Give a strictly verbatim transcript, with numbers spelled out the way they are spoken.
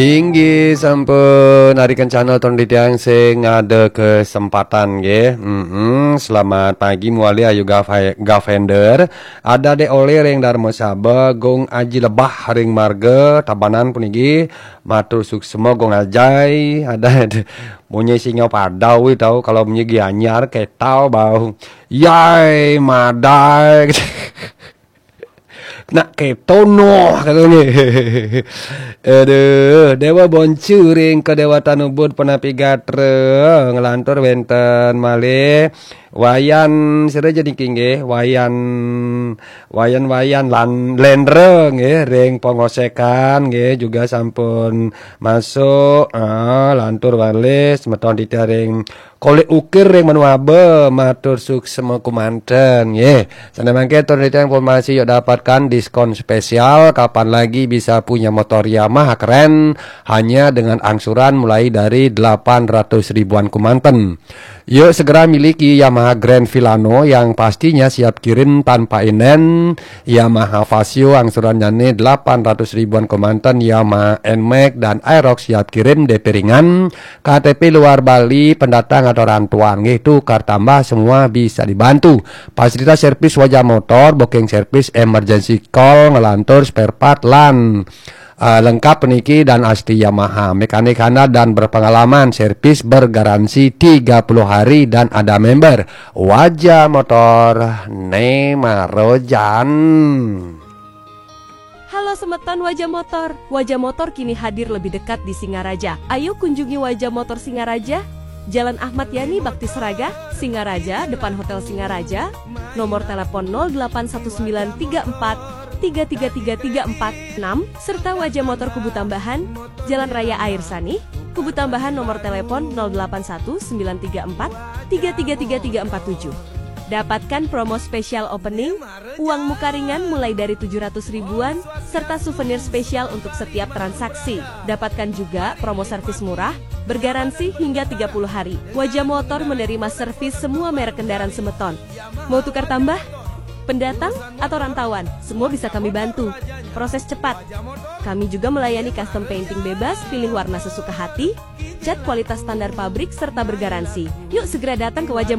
Inggih sampun, ari kencana ton titiang sing ada kesempatan nggih. Mm-mm. Selamat pagi muali ayu Gava-, Gavender. Ada Dek Oleh ring Darmasaba, Gung Aji Lebah ring Marga Tabanan puniki. Matur suksma Gung Ajai. Ada, ada munyi singa padau kuwi tau, kalau munyi Gianyar ketau bau. Yai madai. Nak keto noh katanya. Aduh, Dewa Boncu ring Kedewatan Ubud Penapi Gatra, nglantur wenten malih Wayan sira jadi nggih, Wayan, Wayan, Wayan lan Lendra nggih, ring Pongosekan nggih, juga sampun masuk, ah, lantur malih semeton titiang ring Kolek Ukir ring Manuaba, matur suksma kumanten nggih. Sane mangke tur titiang informasi yuk dapatkan diskon spesial, kapan lagi bisa punya motor Yamaha keren hanya dengan angsuran mulai dari delapan ratus ribuan kumanten. Yuk segera miliki Yamaha Grand Filano yang pastinya siap kirim tanpa inden, Yamaha Fazzio angsurannya nih delapan ratus ribuan kumanten, Yamaha Nmax dan Aerox siap kirim D P ringan, K T P luar Bali, pendatang atau rantauan nggih, tukar tambah semua bisa dibantu. Fasilitas servis Wajah Motor, booking servis, emergency call, ngelantur spare part lan eh, lengkap niki dan asli Yamaha, mekanik handal dan berpengalaman, servis bergaransi tiga puluh hari dan ada member. Wajah Motor Nemarojan. Halo semeton Wajah Motor. Wajah Motor kini hadir lebih dekat di Singaraja. Ayo kunjungi Wajah Motor Singaraja, Jalan Ahmad Yani, Bakti Seraga, Singaraja, depan Hotel Singaraja. Nomor telepon nol delapan satu sembilan tiga empat tiga tiga tiga tiga empat enam, serta Wajah Motor Kubu Tambahan, Jalan Raya Air Sani, Kubu Tambahan, nomor telepon nol delapan satu sembilan tiga empat tiga tiga tiga tiga empat tujuh. Dapatkan promo spesial opening, uang muka ringan mulai dari tujuh ratus ribuan, serta souvenir spesial untuk setiap transaksi. Dapatkan juga promo servis murah, bergaransi hingga tiga puluh hari. Wajah Motor menerima servis semua merek kendaraan semeton. Mau tukar tambah? Pendatang atau rantauan, semua bisa kami bantu. Proses cepat. Kami juga melayani custom painting bebas, pilih warna sesuka hati, cat kualitas standar pabrik, serta bergaransi. Yuk segera datang ke Wajah Motor.